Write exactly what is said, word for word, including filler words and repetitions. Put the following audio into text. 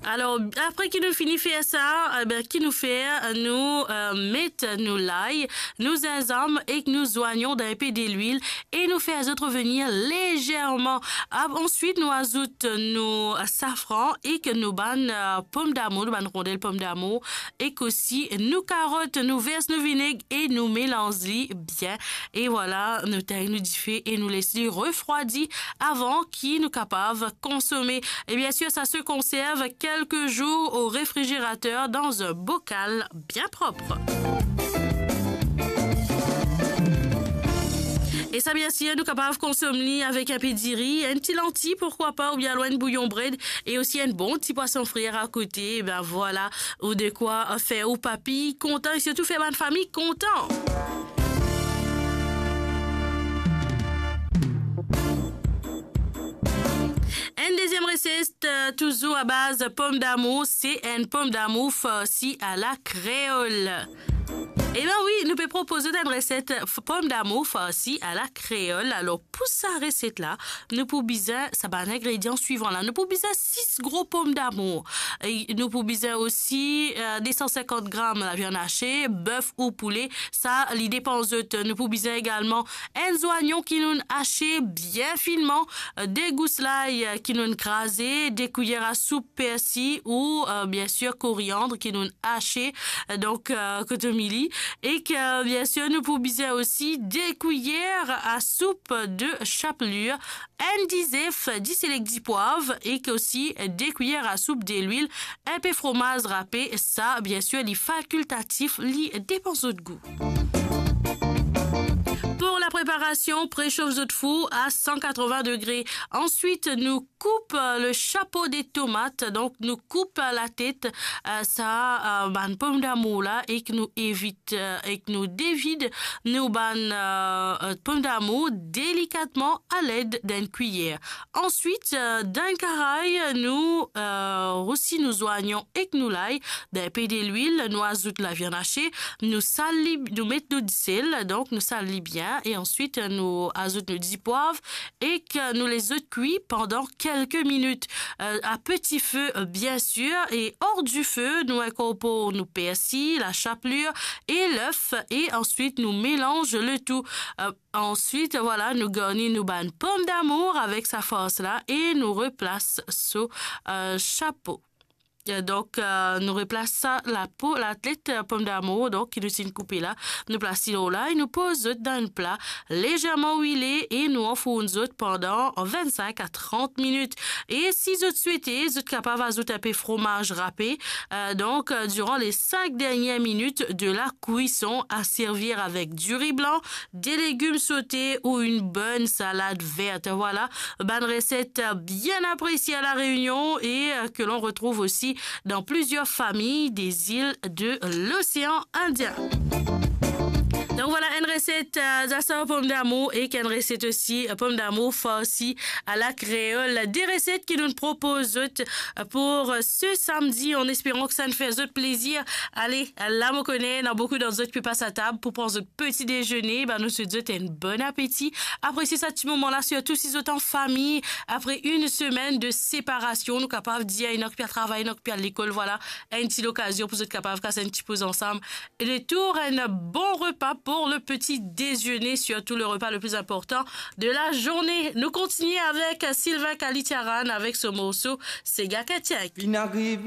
Alor, apre ki nou fini fer sa, e ben, ki nou fer, nou, eh, met nou lay, nou zinzam ek nou zwayon dan enpe delwil e nou fer zot revenir lezerman. Ap-, answit, nou azout nou safran ek nou bann, eh, pomdamour, nou bann rondel pomdamour, ek osi nou karot, nou vers nou vineg e nou melanz li bien. E vwala, nou tegn nou dife e nou les li refrwadi avan ki nou kapav konsome. E biensir, sa se konserv kelke zour o refrizerater dan enn bokal bien prop. E sa, biensir, nou kapav konsom li avek enpe diri, enn ti lanti, pourkwa pa, oubien alor enn bouyon bred, e osi enn bon ti pwason frir akote. E ben vwala, ou dekwa fer ou papi kontan e sirtou fer bann fami kontan. Enn deziem reset, eh, touzour a baz pomdamour, se enn pomdamour farsi a la kreol. E ben wi, nou pe propoz zot enn reset f-, pomdamour farsi a la kreol. Alor, pou sa reset la, nou pou bizin sa bann ingredian swivan la. Nou pou bizin sis gro pomdamour. E nou pou bizin osi, eh, de san sinkant gram laviann ase, bef ou poule, sa li depan zot. Nou pou bizin egalman enn zwayon ki nou'nn ase bien finman, eh, de gous lay, eh, ki nou'nn kraze, de kwiyer a soup persi ou, eh, biensir koriand ki nou'nn ase, eh, donk, eh, kotomili. Ek, eh, biensir, nou pou bizin osi de kwiyer a soup de chaplir, enn dizef, diselek dipwav, ek osi de kwiyer a soup delwil, enpe fromaz rape, sa, biensir, li fakiltatif, li depan zot gou. Pou la preparasion, presof zot four a san katrovin degre. Answit, nou koup, eh, le chapo de tomat. Donk, nou koup, eh, latet, eh, sa, eh, bann pomdamour la, ek nou evit, eh, ek nou devid nou bann, eh, eh, pomdamour delikatman aled dan enn kwiyer. Answit, eh, dan enn karay, nou, eh, rousi nou zwayon ek nou lay dan enpe delwil, nou azout laviann ase, nou sal li, nou met nou disel, donk nou sal li bien, e answit, eh, nou azout nou dipwav, ek, eh, nou les zot kwi pandan kelke minit, eh, a peti fe, eh, biensir, e or di fe, nou inkorpor nou persi, la chaplir e lef, e answit nou melanz le tou. Eh, answit, vwala, nou garni nou bann pomdamour avek sa fars la e nou replas so, eh, chapo. Eh, donk, eh, nou replas sa, lapo, latet, eh, pomdamour, donk, ki nou finn koupe la. Nou plas li lor la e nou poz zot dan enn pla lezerman wile e nou anfourn zot pandan vennsink a trant minit. E si zot swete, zot kapav azout enpe fromaz rape. Eh, donk, eh, diran le sink dernie minit de la kwison, a servir avek diri blan, de legim sote ou enn bonn salad vert. Vwala, bann reset bien apresie a La Reunion e, eh, ke l'on retrouve osi dan plizier fami de zil de l'Osean Indien. Donk vwala enn reset, eh, zasar pomdamour ek enn reset osi, eh, pomdamour farsi a la kreol. De reset ki nou propoz zot, eh, pou, eh, se samdi, an esperan ki sa inn fer zot plezir. Ale, la mo kone, ena boukou dan zot ki pe pas atab pou pran zot peti dezene, ben nou swet zot enn bon apeti. Apresie sa ti moman la, sirtou si zot an fami, apre enn semenn de separasion, nou kapav dir, ena ki pe al travay, ena ki pe al lekol, vwala, enn ti lokazion pou zot kapav kas enn ti poz ansam. Retour enn bon repa pou le peti dezene, sirtou le repa le pli inportan de la zourne. Nou kontigne avek Sylvain Kalitiaran avek so morso Sega Ketiek. Li inn ariv